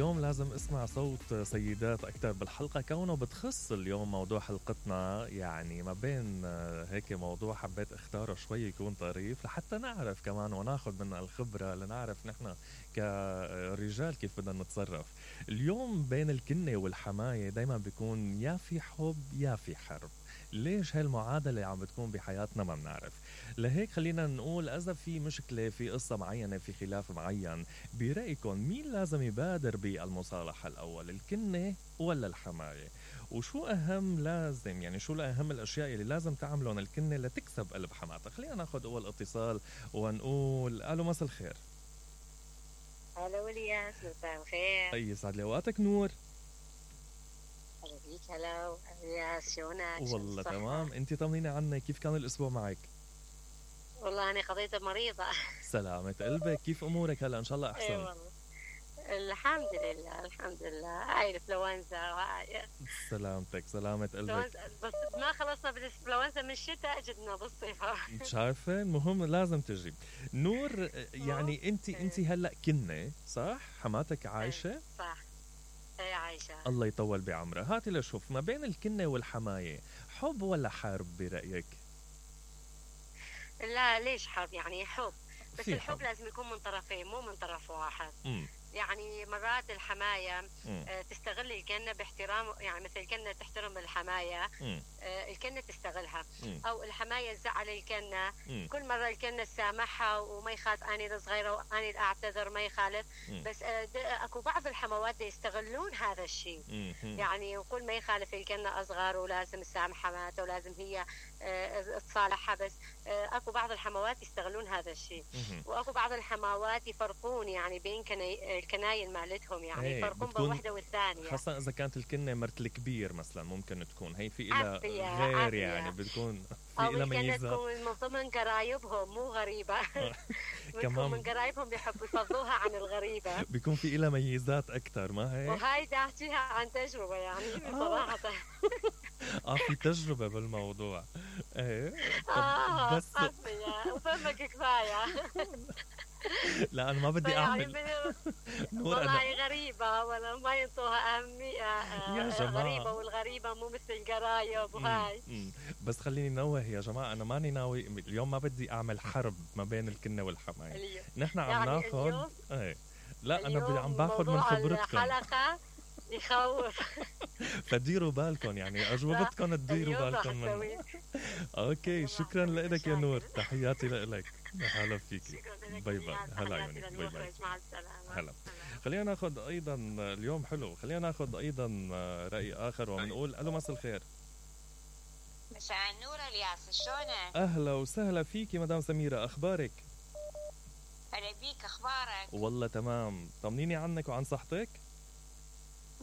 اليوم لازم اسمع صوت سيدات أكتر بالحلقة كونه بتخص اليوم موضوع حلقتنا، يعني ما بين هيك موضوع حبيت اختاره شوي يكون طريف لحتى نعرف كمان وناخد منها الخبرة لنعرف نحن كرجال كيف بدنا نتصرف. اليوم بين الكنة والحماية دايما بيكون يا في حب يا في حرب. ليش هالمعادلة عم بتكون بحياتنا ما بنعرف. لهيك خلينا نقول إذا في مشكلة في قصة معينة في خلاف معين، برأيكم مين لازم يبادر بالمصالحة الأول، الكنة ولا الحماية؟ وشو أهم لازم يعني شو أهم الأشياء اللي لازم تعملون الكنة لتكسب قلب حماتها؟ خلينا ناخد أول اتصال ونقول ألو مساء الخير. هلا ولياس مساء الخير. أي يسعد لي أوقاتك نور. هلا بيك. هلا ولياس شلونك؟ والله تمام، أنت طمنيني عنك، كيف كان الأسبوع معك؟ والله أنا قضيت مريضة. سلامة قلبك، كيف أمورك هلا؟ إن شاء الله أحسن. اي والله الحمد لله الحمد لله. هاي الانفلونزا وهاي سلامتك سلامة قلبك. بس ما خلصنا بالانفلونزا من الشتاء جدنا بالصيف. مش عارفة، المهم لازم تجي نور. يعني انت هلا كنة صح؟ حماتك عايشة؟ صح هي عايشة. الله يطول بعمرها. هاتي لشوف ما بين الكنة والحماية، حب ولا حرب برأيك؟ لا ليش حرب؟ يعني حب، بس الحب حب لازم يكون من طرفين مو من طرف واحد. مم. يعني مرات الحماية تستغل الكنة باحترام، يعني مثل الكنة تحترم الحماية، الكنة تستغلها. أو الحماية تزعل الكنة، كل مرة الكنة تسامحها وما يخالف، أنا الصغيرة وأنا الأعتذر ما يخالف. بس أكو بعض الحموات يستغلون هذا الشيء، يعني وكل ما يخالف الكنة أصغر ولازم تسامح حماتها ولازم هي تصالحها. بس أكو بعض الحموات يستغلون هذا الشيء، وأكو بعض الحموات يفرقون يعني بين الكناين مالتهم، يعني يفرقون بين واحدة والثانية، خاصة إذا كانت الكنة مرت الكبير مثلا ممكن تكون هي في إلى غير عافية. يعني بتكون في إلى ميزات، أو تكون من ضمن قرايبهم مو غريبة. كمان من قرايبهم بيحبوا يفضوها عن الغريبة، بيكون في إلى ميزات أكتر، ما هيك؟ وهاي دا أحكيها عن تجربة يعني بصراحة. في تجربة بالموضوع. ايه بس وفهمك كفاية. لا أنا ما بدي أعمل والله غريبة ولا ما ينطوها أهمية. يا جماعة غريبة، والغريبة مو مثل القرايب وهاي. بس خليني نوه يا جماعة، أنا ماني ناوي اليوم، ما بدي أعمل حرب ما بين الكنة والحماية. نحن عم يعني ناخد لا أنا عم باخد من خبرتكم. الحلقة يخوف. فديروا بالكم، يعني أجوبتكم تديروا بالكم من. أوكي شكرا لك يا نور، تحياتي لك، هلا فيكي، باي باي. هلا عيوني، باي باي، مع السلامة. هلا. خلينا ناخد أيضا اليوم حلو، خلينا ناخد أيضا رأي آخر وبنقول ألو مساء الخير. مساء النور الياس، شلونك؟ أهلا وسهلا فيكي مدام سميرة، أخبارك؟ هلا بيك، أخبارك؟ والله تمام، طمنيني عنك وعن صحتك.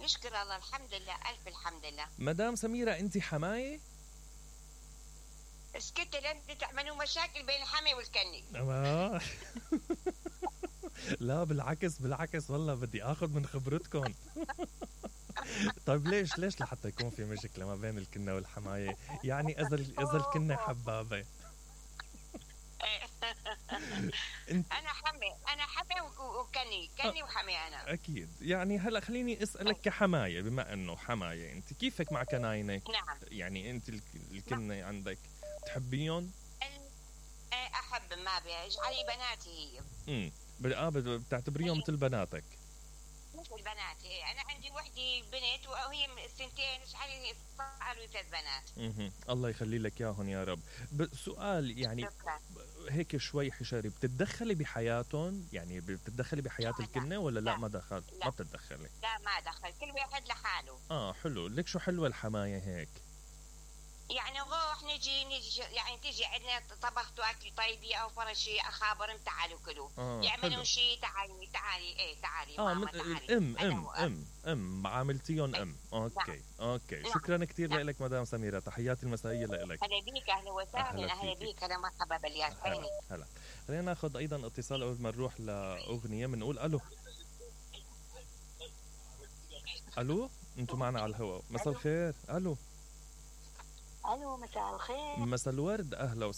نشكر الله الحمد لله، ألف الحمد لله. مدام سميرة أنت حماية؟ اسكت لن تعملوا مشاكل بين الحمي والكني. لا بالعكس والله بدي اخذ من خبرتكم. طيب ليش لحتى يكون في مشكلة ما بين الكنة والحماية؟ يعني اذا الكنة حبابة. انا حمي وكني وحمي انا. اكيد. يعني هلا خليني اسالك كحماية، بما انه حماية انت كيفك مع كناينك؟ نعم. يعني انت الكنة عندك تحبيهم؟ احب، ما بيجعلي بناتي هي. بتعتبريهم مثل بناتك؟ مثل بناتي. انا عندي وحدي بنت وهي سنتين، اجعلي صاروا 3 بنات. الله يخلي لك اياهم يا رب. سؤال يعني شكرا. هيك شوي حشري، بتتدخلي بحياتهم؟ يعني بتتدخلي بحياة الكنة ولا لا ما دخل؟ لا. ما بتتدخلي؟ لا ما دخل، كل واحد لحاله. حلو. ليك شو حلوة الحماية هيك، يعني نروح نجي يعني تجي عندنا طبخت واكل طيبي او فرشي اخابر، تعالوا كلوا. يعملون شيء، تعالي ماما تعالي. عاملتيهم اوكي. شكرا كثير لك مدام سميرة، تحياتي المسائية لك. هلا بيك، اهلا وسهلا. اهلا بيك، اهلا مرحبا بالياس. هلا. خلينا ناخذ ايضا اتصال قبل ما نروح لاغنية. بنقول الو انتم معنا على الهواء. مساء الخير. الو مساء الخير. مساء الورد، اهلا وسهلا.